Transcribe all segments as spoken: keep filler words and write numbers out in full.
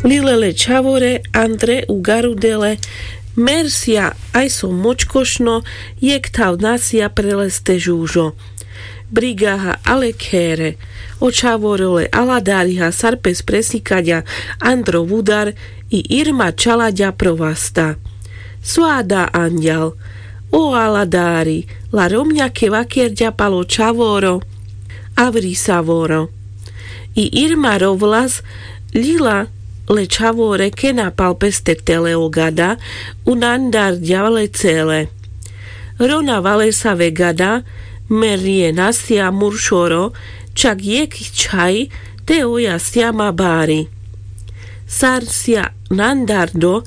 Lile le čhavore andre ugarudele. Mersia aj so močkošno. Jekh thav nasia pre leste žužo. Brigaha ale khere. O čhavoro le aladariha sar pes presikaďa andro vudar. I irma čalaďa pro vasta. Soa da anďal. O aladari, la romňa ke vakerďa palo čhavoro. Avri savoro. I irma rovlas. Lila le čhavore kena pal peste tele o gada. Unandarďa le cele. Rona valesave gada. Merrie nasia muršoro. Čak jekh čhaj. Te oja siama bari. Sar sia nandardo.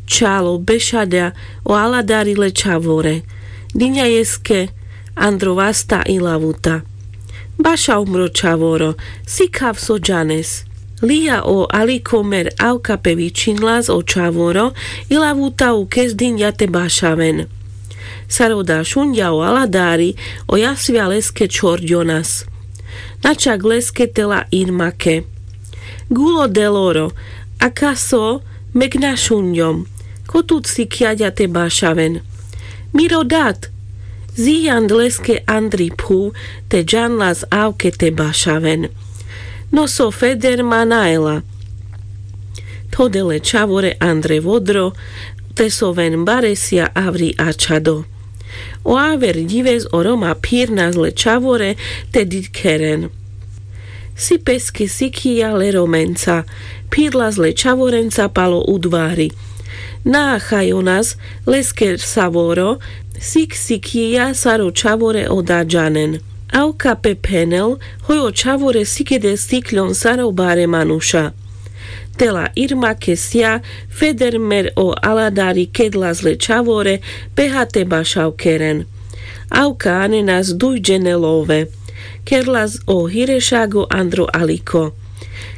Čalo bešaďa o aladari le čhavore. Diňa jeske andro vasta i lavuta. Baša umro čhavoro. Sikhav so džanes. Lija o aliko mer avka pe vičinlas o čhavoro. I lavuta u kes diňa te bašaven. Sar oda šunďa o aladari. O jasvja leske čhorďonas. Načak leske tela irmake. Gulo deloro. Akaso meg našunďom. Kotut sikjaďa te bašaven. Miro dat. Zijand leske andri phuv. Te džanlas avke te bašaven. No so feder ma najela. Thodele čhavore andre vodro. Te soven baresja avri ačhado. O aver ďives o roma phirnas le čhavore. Te dikheren. Si peske sikhija le romenca. Phirlas le čhavorenca palo udvari. Nachajonas leske savoro. Sikh sikhija sar o čhavore oda džanen. Avka pe phenel. Hoj o čhavore sikede sikhľon sar o bare manuša. Tela irmake sija. Feder mer o aladari kedlas le čhavore. Peha te bašav keren. Avka anenas dujdžene love. Kerlas o hirešago andro aliko.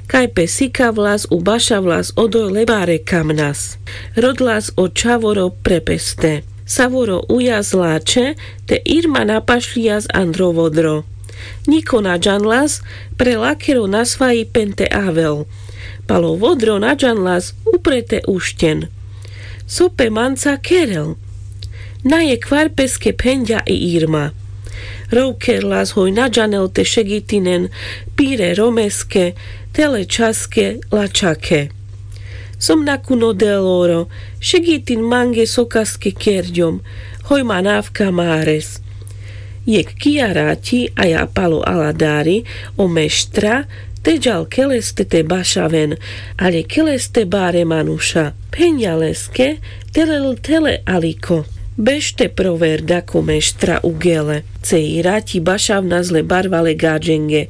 Kaj pe sikavlas u bašavlas odoj le bare kamnas. Rodlas o čhavoro pre peste. Savoro ujas lačhe. Te irma napašľijas andro vodro. Ňiko na džanlas. Pre lakero nasvaji pen te avel. Palo vodro na džanlas. Upre te ušťen. So pe manca kerel. Na jekvar peske phenďa i irma. Rov kerlas hoj na džanel te šegitinen. Pire romeske. Tele čhaske lačhake. Som nakuno deloro. Šegitin mange sokaske kerďom. Hoj man avka mares. Jekh kija raťi aja palo aladari. O meštra. Te džal keleste te bašaven. Ale keleste bare manuša. Phenďa leske. Tele tele aliko. Bešte proverda ko meštra ugele. Cej raťi bašavnas le barvale gaďenge.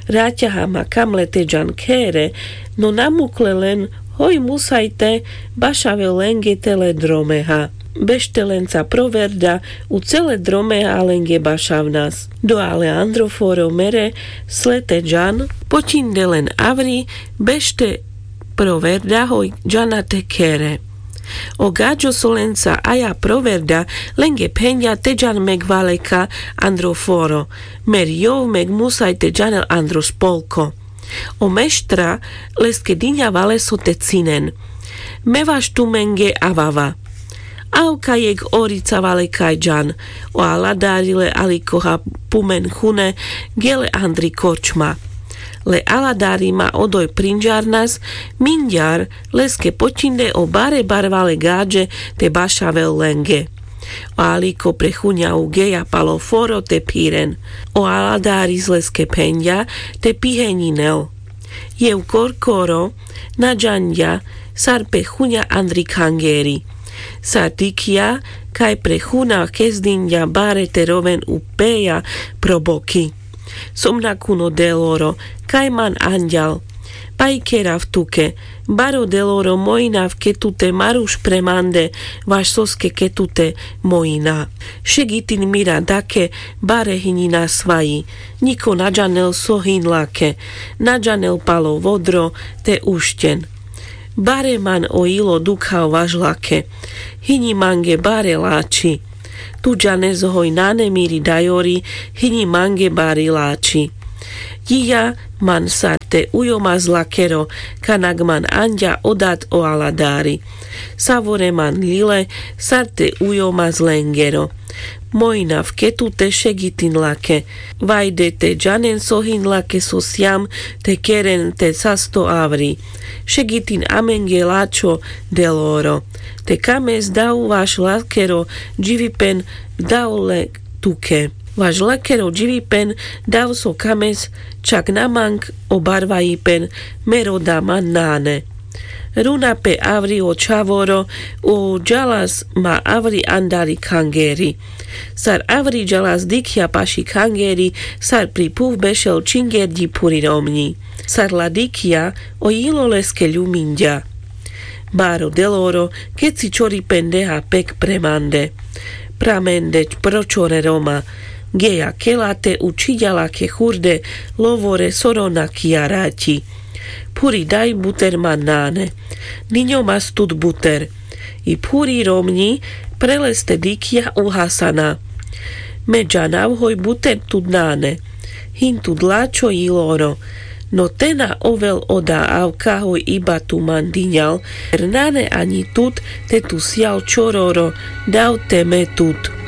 Raťaha ma kamle te džan khere. No namukle len. Hoj musaj te bašavel lenge tele dromeha. Bešte lenca proverda. U cele dromeha lenge bašavnas. Doa le andro foro mere. Sle te džan. Poťinde len avri. Bešte proverda hoj džana te khere. O gaďo so lenca aja proverda. Lenge phenďa te džan meg valeka andro foro. Mer jov meg musaj te džanel andro spolko. O meštra leske diňa valeso te cinen. Me vaš tumenge avava. Avka jekh orica valekaj džan. O aladari le alikoha pumen chune. Gele andri korčma. Le aladari ma odoj prinďarnas. Minďar leske poťinde o bare barvale gaďe. Te bašavel lenge. O aliko pre chuňa ugeja palo foro te phiren. O aladaris leske phenďa. Te piheňinel. Jev korkoro. Na džanďa. Sar pe chuňa andri khangeri. Sar dikhľa. Kaj pre chuna kezdinďa bare te roven upeja pro boki. Som nakuno deloro. Kaj man anďal. Pajkerav tuke. Baro deloro mojinav ke tute maruš pre mande. Vaš soske ke tute mojina. Šegitin mira dake. Bare hiňi nasvaji. Ňiko na džanel so hiňlake. Na džanel palo vodro. Te ušťen. Bare man o ilo dukhav vaš lake. Hiňi mange bare lači. Tu džanes hoj nane miri dajori. Hiňi mange bari lači. Jija man sar te ujo ma zlakero, kanak man anďa o dat o aladari. Savore man lile, sar te ujo ma zlengero. Mojinav ke tute šegitin lake. Vajde te džanen so hin lake so sijam te keren te sasto avri. Šegitin amenge lačho deloro. Te kames dav vaš lakero dživipen dav le tuke. Vaš lakero dživipen dav so kames čak na mang o barvajipen me roda man nane. Runa pe avri o čhavoro, o džalas ma avri andari khangeri. Sar avri džalas dikhja paši khangeri, sar pri phuv bešel čingerďi phuri romňi. Sar la dikhja, o jilo leske ljuminďa. Baro deloro, keci čoripen deha pek pre mande. Pra mende pro čore roma. Geja kela te učhiďa lake hurde, lovore so ronakija raťi. Phuri daj buter man nane. Niňo mas tut buter. I phuri romňi pre leste dikhja uhasana. Me džanav hoj buter tut nane. Hin tut lačho jiloro. No te na ovel oda avka hoj iba tu man diňal. Nane aňi tut te tu sijal čororo. Dav te me tut.